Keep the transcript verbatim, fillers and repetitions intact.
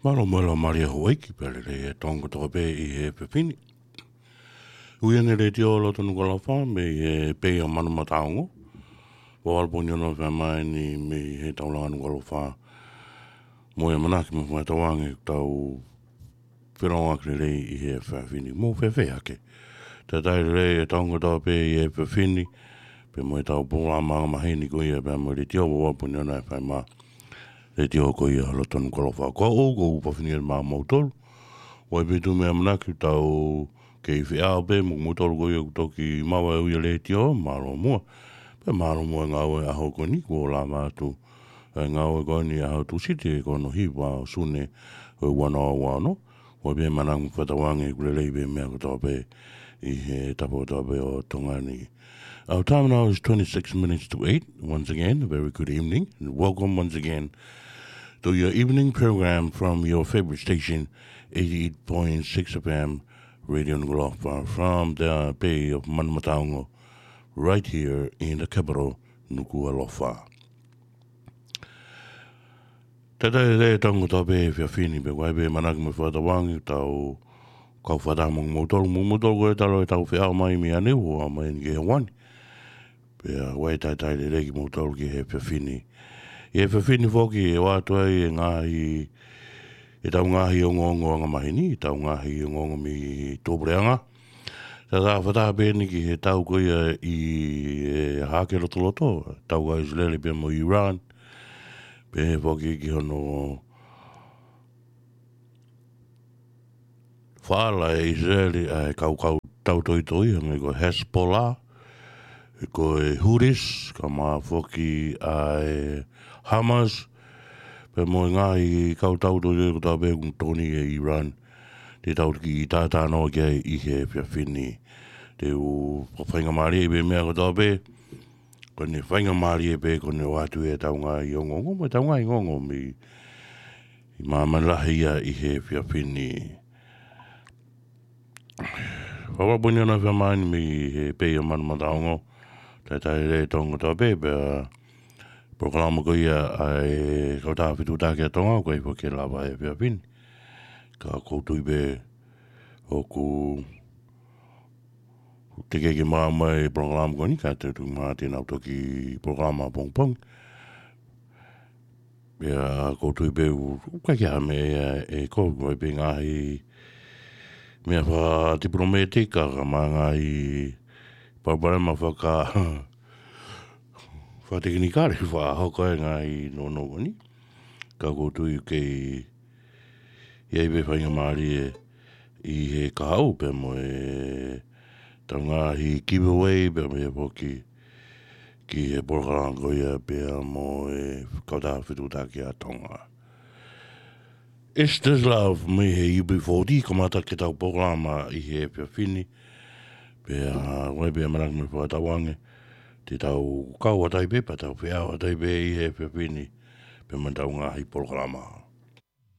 Mālō mo e laumālie ʻa houʻeiki pea lelei e Tonga kotoa pē ʻi he efiafi ni. Ui ʻeni e Letiō Loto Nukuʻalofa mei he Pei ʻa Manumataongo. Ua afe pongipongi ʻoku fai mai ʻeni mei he Taulanga Nukuʻalofa. Mo e ʻamanaki mo e fakatauange ʻoku tau felongoaki lelei ʻi he efiafi ni. Mou fēfē hake? Talitali lelei e Tonga kotoa pē ʻi he efiafi ni, pea mo ʻetau polokalama angamaheni ko ia pea mo e Letiō, ua afe pongipongi ʻoku fai mai. Letiō ko ia Loto Nukuʻalofa. Ko au ko Upa Finiel maʻamoutolu. ʻOku ʻi ai pē ʻetau ʻamanaki ʻoku tau kei feʻao pē mo moutolu ko ia ʻoku toki maʻu e ui ʻa e Letiō, mālō muʻa. Pea mālō muʻa e ngāue ʻaho ko ʻeni, kuo lava atu e ngāue ko ʻeni ʻaho Tūsite, ko hono hiva ʻo Sune ʻo e ua noa ua ono. ʻOku ʻi ai pē ʻamanaki mo e fakatauange ʻoku lelei pē meʻa kotoa pē ʻi he tafaʻaki kotoa pē ʻo Tonga ni. Our time now is twenty-six minutes to eight. Once again, a very good evening and welcome once again to your evening program from your favorite station, eighty-eight point six F M, Radio Nukuʻalofa, from the Bay of Manumataongo, right here in the capital, Nukuʻalofa. Talitali lelei e Tonga kotoa pē he efiafi ni, pea ʻoku ʻi ai pē ʻamanaki mo e fakatauange ʻoku tau kau fakataha mo moutolu, mo moutolu ko ia talu ʻetau feʻao mai mei ʻaneuhu ʻo aʻu mai ʻeni ki he ʻaho ni. Pea ʻoku ʻi ai e talitali lelei kimoutolu ki he efiafi ni. ʻI he efiafi ni foki ʻe ʻoatu ai e ngaahi, ʻetau ngaahi ongoongo angamaheni, ʻetau ngaahi ongoongo mei tuʻapuleʻanga. Tau fakataha pē ʻeni ki he tau ko ia ʻi he Hahake Lotoloto, tau ʻa ʻIsileli pea mo Iran. Pehē foki ki hono faʻala ʻe ʻIsileli ʻa e kau tautoitoi, hangē ko e Hezbollah, ko e Houthis, kae ʻumaʻā foki ʻa e Hamas, pea mo e ngaahi kau tautoitoi kotoa pē ʻoku tokoni ʻe Iran. Te tau kiʻi talanoa ki ai ʻi he efiafi ni. Te u fakafaingamālie pē meʻa kotoa pē, ko ʻene faingamālie pē ko ʻene ʻoatu ʻetau ngaahi ongoongo, mo ʻetau ngaahi ongoongo mei, ʻi māmani lahi ia ʻi he efiafi ni. Ua afe pongipongi ʻoku fai mai ʻeni mei he Pei ʻa Manumataongo. Talitali lelei e Tonga kotoa pē, pea polokalama ko ia ʻa e Kautaha Fetuʻutaki ʻa Tonga, ʻoku ʻi ai foki e lava he efiafi ni. Ka ʻoku ou tui pē ʻoku teʻeki ke maʻu mai e polokalama ko ʻeni, ka te u tuku muʻa ke nau toki polokalama ʻapongipongi. Pea ʻoku ou tui pē ʻoku, ʻoku ʻikai ke ʻi ai ha meʻa ʻe, ʻe ko, ʻoku ʻi ai pē ngaahi meʻa fakatipilōmētika, kae ʻumaʻā ngaahi palopalema faka-, fakatekinikale, fakahoko e ngaahi nounou ko ʻeni. Ka ʻoku ou tui ʻoku kei ʻi ai pē faingamālie ʻi he kahaʻu pea mo ʻetau ngaahi giveaway pea mo e foki ki he polokalama ko ia pea mo e Kautaha Fetuʻutaki ʻa Tonga. It's This Love mei he U B forty, kamata ʻetau polokalama ʻi he efiafi ni. Pea ʻoku ʻi ai pē ʻamanaki mo e fakatauange te tau kau atu ai pē, pea tau feʻao atu ai pē ʻi he efiafi ni pea mo ʻetau ngaahi polokalama.